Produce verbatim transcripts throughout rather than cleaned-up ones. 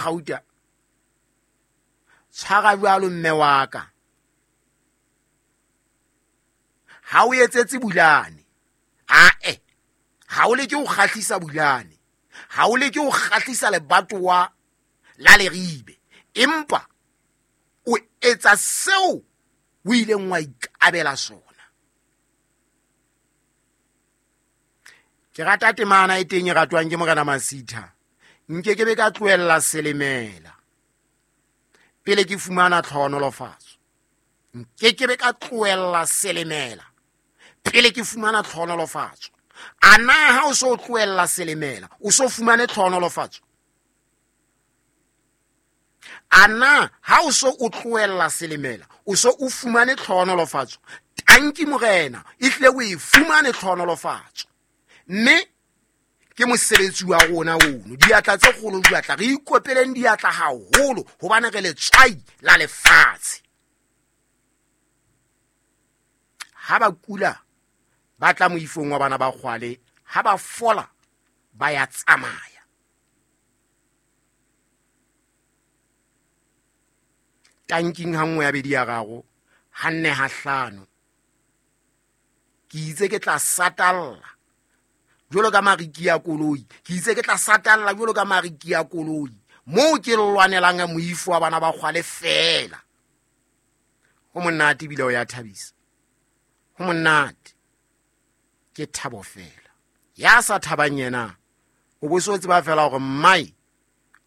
Gauta tshwara jwalo mme wa ka ha o etsetse Bulane ae ha o leke ho kgahlisa Bulane ha o leke ho kgahlisa lebatowa la Leribe empa o etsa seo o ileng wa ikabela sona. Ke rata temana e teng e ratwang ke Morena Masitha. Nke ke be ka tlohella selemela pele ke fumana tlhohonolofatso. Nke ke be ka tlohella selemela pele ke fumana tlhohonolofatso. A na ha o so tlohella selemela o so fumane tlhohonolofatso? A na ha o so o tlohella selemela o so o fumane tlhohonolofatso? Tanki Morena, ehlile o e fumane tlhohonolofatso. Mme ke mosebetsi wa rona ono, diatla tse kgolo diatla, re ikopeleng diatla haholo hobane re letswai la lefatshe. Ha ba kula ba tla moifong wa bana ba kgwale, ha ba fola ba ya tsamaya. Tanking ha nngwe ya bedi ya raro, ha nne ha hlano. Ke itse ke tla satalla jwalo ka mariki ya koloi, ke itse ke tla satalla jwalo ka mariki ya koloi moo ke lwanelang moifo wa bana ba kgwale fela. Ho monate ebile o ya thabisa, ho monate, ke thabo fela. Ya sa thabang yena o bo so tseba fela hore mmae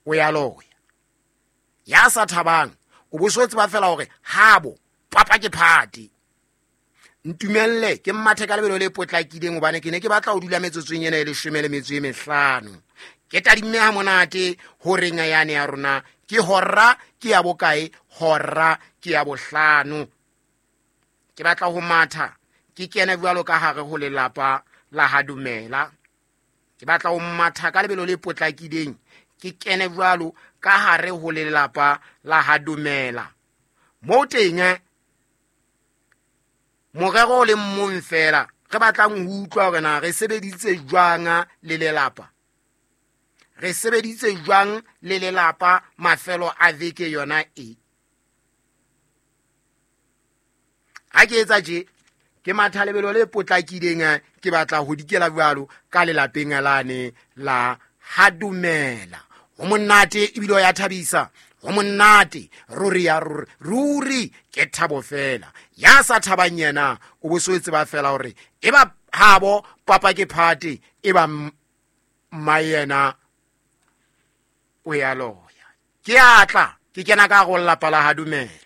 o ya loya. Ya sa thabang o bo so tseba fela hore habo papa ke phate. Ntumelle ke mmathe ka lebelo le potlakileng hobane ke ne ke batla ho dula metsotsong ena e leshome le metso e mehlano. Ke tadimme ha monate horeng yane ya rona ke hora ke ya bokae? Hora ke ya bohlano. Ke batla ho matha ke kene jwalo ka hare ho lelapa la ha Dumela. Ke batla ho matha ka lebelo le potlakileng ke kene jwalo ka hare ho lelapa la ha Dumela. Moo teng morero o le mong fela re batlang ho utlwa hore na re sebeditse jwang le lelapa, re sebeditse jwang le lelapa mafelo a veke yona e. Ha ke etsa tje ke matha lebelo le potlakileng, ke batla ho dikela jwalo ka lelapeng lane la ha Dumela. Ho monate ebile o ya thabisa, ho monate ruri ya ruri, ruri ke thabo fela. Ya sa thabang yena o bo so tseba fela hore e ba habo papa ke phate, e ba mma yena o ya loya. Ke atla ke kena ka go lelapa la ha Dumela.